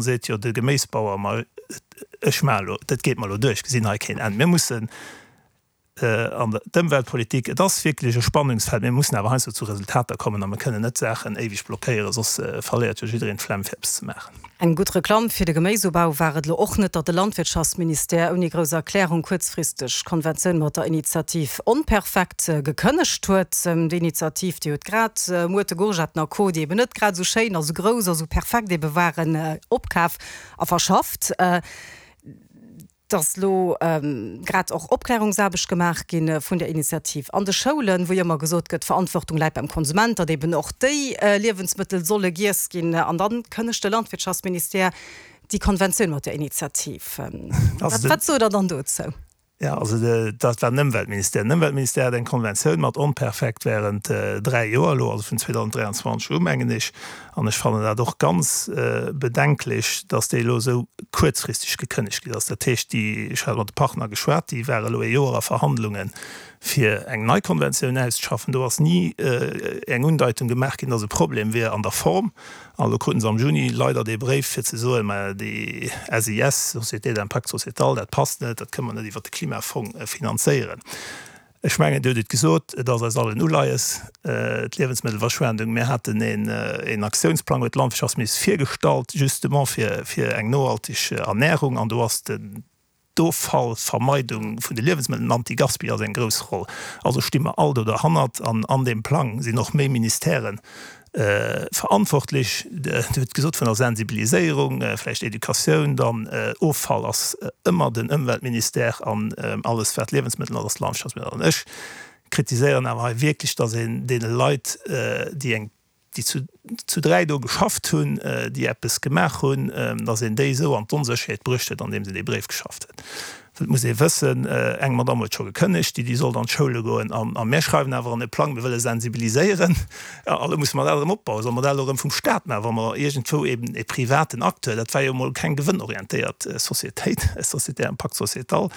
Seet jo de Geméisbauer, ma ech maache lo, dat geet mer lo duer, ech gesinn hei keen Enn. Mir mussen an d'Ëmweltpolitik, et ass wierklech e Spannungsfeld, mir mussen awer heiansdo zu Resultater kommen a mir kënnen net Saachen éiweg blockéieren, soss verléiert jo jiddereen d'Flemm fir eppes ze maachen. Eng gutt Reklamm fir de Geméisubau war et elo och net, datt de Landwirtschaftsministère ouni grouss Erklärung kuerzfristeg d'Konventioun mat der Initiativ Onperfekt gekënnegt huet. Déi Initiativ, déi huet grad Muerte, Gourgetten a Co, déi eben net grad esou schéin a sou grouss a sou perfekt ebe waren, opkaf a verschafft. Dass elo grad och Opklärungsaarbecht gemaach gi vun der Initiativ an de Schoulen, wou jo ëmmer gesot gëtt, d'Verantwortung läit beim Konsument, datt eben och déi Liewensmëttel solle giess ginn. An da kënnegt de Landwirtschaftsministère déi Konventioun mat der Initiativ. Wat sot Der dann dozou? Jo, also dat war den Ëmweltministère. Den Ëmweltministère hat eng Konventioun mat Onperfekt während 3 Joer elo, also vun 2023 u mengen ech. An ech fannen dat och ganz bedenklech, dass déi elo esou kuerzfristeg gekënnegt ginn ass. Dat heescht, déi, ech hat mat de Partner geschwat, déi ware elo ee Joer a Verhandlungen, fir eng nei Konventioun auszeschaffen. Do ass ni eng Undeitung gemaach ginn, dass e Problem wier an der Form. An elo kruten se am Juni leider dee Bréif, fir ze soen, mä déi SIS, Société d'impact sociétal, dat passt net, dat kënne mer net iwwert de Klimafong finanzéieren. Ech mengen, Dir hutt et gesot, et ass eis all en Uleies, d'Liewensmëttelverschwendung. Mir haten een Aktiounsplang, huet d'Landwirtschaftsministesch virgestallt, justement fir eng nohalteg Ernährung. An do ass den D'Offallvermeidung vun de Liewensmëttel, den Anti-Gaspi ass eng grouss Roll. Also sti mer all do derhannert an an deem Plang sinn och méi Ministèren verantwortlech. Dir hutt gesot vun der Sensibiliséierung, vläicht Educatioun, dann Offall ass ëmmer den Ëmweltministère an alles wat Liewensmëttel ass, ass Landwirtschaftsministère. An ech kritiséieren awer hei wierklech, datt een deene Leit, déi eng déi zu 3 do geschafft hunn, déi eppes gemaach hunn, datt een déi esou an d'Onsécherheet bruecht huet, andeems een dee Bréif geschafft huet. Well et muss ee wëssen, eng Madamm huet scho gekënnegt, déi déi sollt an d'Schoule goen, a mir schreiwen awer an e Plang, mir wëlle sensibiliséieren, a elo musse mer dat erëm opbauen. Solle mer dat elo erëm vum Staat maachen, wa mer iergendwou eben e privaten Acteur, dat war jo emol keng gewënnorientéiert Societéit, Société à impact sociétal,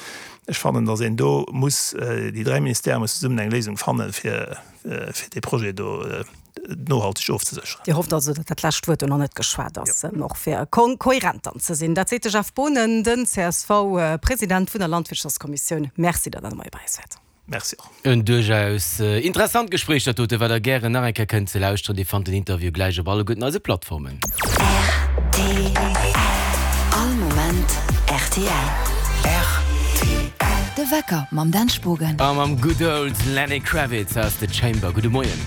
ech fannen, datt een do muss, déi 3 Ministèrë mussen zesummen eng Léisung fannen, fir fir dee Projet do nohalteg ofzesécheren. Dir hofft also, datt dat lescht Wuert do nach net geschwat ass, och fir kohärent dann ze sinn. Dat seet de Jeff Boonen, den CSV-President vun der Landwirtschaftskommissioun. Merci, datt Der de Moie bei eis waart. Merci och. En duerchaus interessant Gespréich dat dote, wat der gären nach eng Kéier kënnt ze lauschteren. Dir fannt den Interview gläich op alleguerten eise Plattformen. Rtl. All Moment rtl. Rtl. De Wecker mam Dan Spogen. A mam good old Lenny Kravitz aus The Chamber. Gudde Moien.